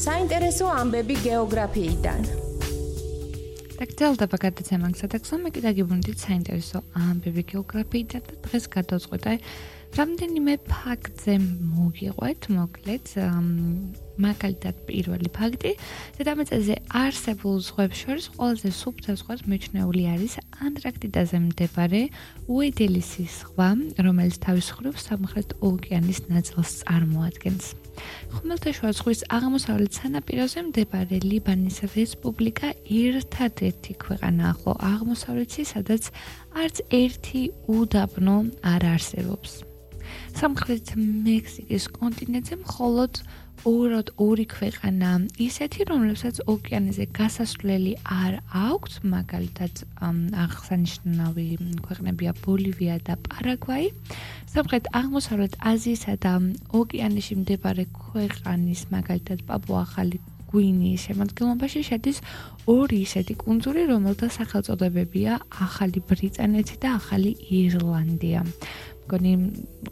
საინტერესო ამბები გეოგრაფიიდან. დაგრძელდება გადაცემა სადაგზო მე კიდე გიბუნდით საინტერესო ამბები გეოგრაფიიდან და დღეს გადავწყვიტე რამდენიმე ფაქტზე მოგიყვეთ, მოკლედ მაგალითად პირველი ფაქტი, დედამიწაზე არსებულ ზღვებს შორის ყველაზე სუფთა ზღვა მიჩნეული არის ანტარქტიდაზე მდებარე უედელისის ზღვა, რომელიც თავის მხრივ სამხრეთ ოკეანის ნაწილს წარმოადგენს. ხმელთაშუა ზღვის აღმოსავლეთ სანაპიროზე მდებარე ლიბანის რესპუბლიკა ერთადერთი ქვეყანაა ახლო აღმოსავლეთში, სადაც არც ერთი უდაბნო არ არსებობს. სამხრეთ მექსიკის კონტინენტზე მხოლოდ ორი ქვეყანა ისეთი, რომლებსაც ოკეანეზე გასასვლელი არ აქვთ, მაგალითად აღსანიშნავი ქვეყნებია ბოლივია და პარაგვაი. სამხრეთ აღმოსავლეთ აზიისა და ოკეანეში მდებარე ქვეყნის, მაგალითად პაპუა-ახალი გვინეის შემადგენლობაში შედის ორი ისეთი კუნძული, რომელთა სახელწოდებებია ახალი ბრიტანეთი და ახალი ირლანდია. მგონი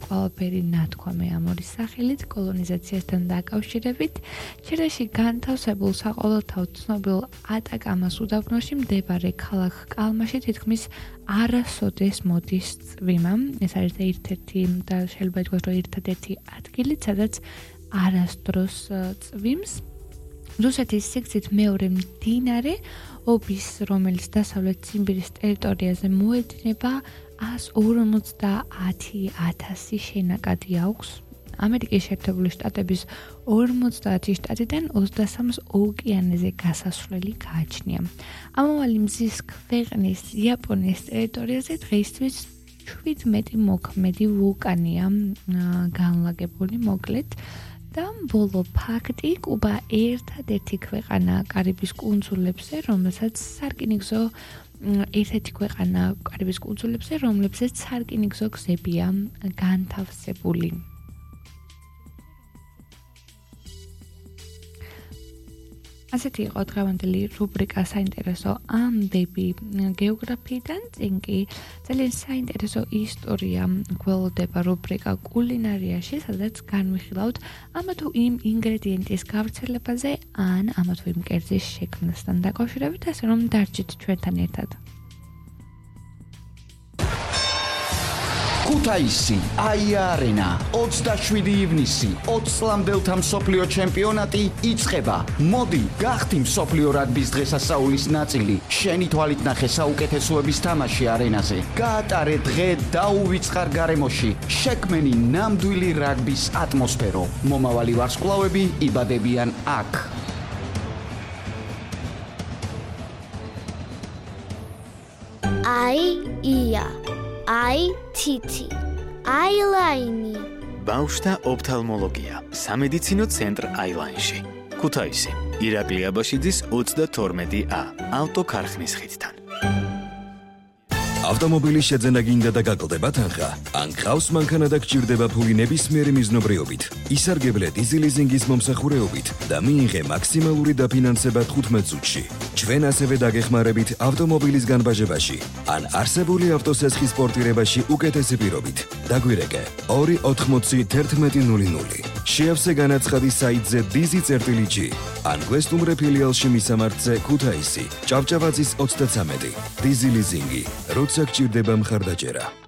ყველაფერი ნათქვამი ამ ორი სახელით კოლონიზაციასთან დაკავშირებით. ჩილეში განთავსებულ საყოველთაოდ ცნობილ ატაკამას უდაბნოში მდებარე ქალაქ კალმაში თითქმის არასოდეს მოდის წვიმა. ეს არის ერთ-ერთი და შეიძლება ითქვას, რომ ერთადერთი ადგილი, სადაც არასდროს წვიმს. რუსეთის სიგრძით მეორე მდინარე ობის, რომელიც დასავლეთ ციმბირის ტერიტორიაზე მოედინება 150,000 შენაკადი აქვს. ამერიკის შეერთებული შტატების 50 შტატიდან 23-ს ოკეანეზე გასასვლელი გააჩნია. ამავალი მზის ქვეყნის იაპონიის ტერიტორიაზე დღეისთვის 17 მოქმედი ვულკანია განლაგებული, მოკლედ. და ბოლო ფაქტი, კუბა ერთადერთი ქვეყანა კარიბის კუნძულებზე, რომელსაც სარკინიგზო ერთ-ერთი ქვეყანა კარიბის კუნძულებზე, რომლებზეც სარკინიგზო გზებია განთავსებული. ასეთი იყო დღევანდელი რუბრიკა საინტერესო ამბები გეოგრაფიიდან, წინ კი ძალიან საინტერესო ისტორია გველოდება რუბრიკა კულინარიაში, სადაც განვიხილავთ ამა თუ იმ ინგრედიენტის გავრცელებაზე ან ამა თუ იმ კერძის შექმნასთან დაკავშირებით, ასე რომ დარჩით ჩვენთან ერთად. ქუთაისი, აია-არენა, 27 ივნისი, 20 წლამდელთა მსოფლიო ჩემპიონატი იწყება. მოდი, გახდი მსოფლიო რაგბის დღესასწაულის ნაწილი. შენი თვალით ნახე საუკეთესოების თამაში არენაზე. გაატარე დღე დაუვიწყარ გარემოში. შექმენი ნამდვილი რაგბის ატმოსფერო. მომავალი ვარსკვლავები იბადებიან აქ. ია აი თითი აილაინი ბავშვთა ოფთალმოლოგია სამედიცინო ცენტრ აილაინში ქუთაისი ირაკლი აბაშიძის 32A ავტოქარხნის ხიდთან ავტომობილის შეძენა გინდა და გაკლდება თანხა? ან გყავს მანქანა და გჭირდება ფული ნებისმიერი მიზნობრიობით, ისარგებლე დიზელიზინგის მომსახურეობით და მიიღე მაქსიმალური დაფინანსება 15 წუთში. ჩვენ ასევე დაგეხმარებით ავტომობილის განბაჟებაში ან არსებული ავტოსესხის პორტირებაში უკეთესი პირობით. დაგვირეკე 2801100. შეავსე განაცხადი საიტზე dizi.gi ან გვესტუმრე ფილიალში მისამართზე ქუთაისი, ჭავჭავაძის 33. დიზელიზინგი, როცა გჭირდება მხარდაჭერა.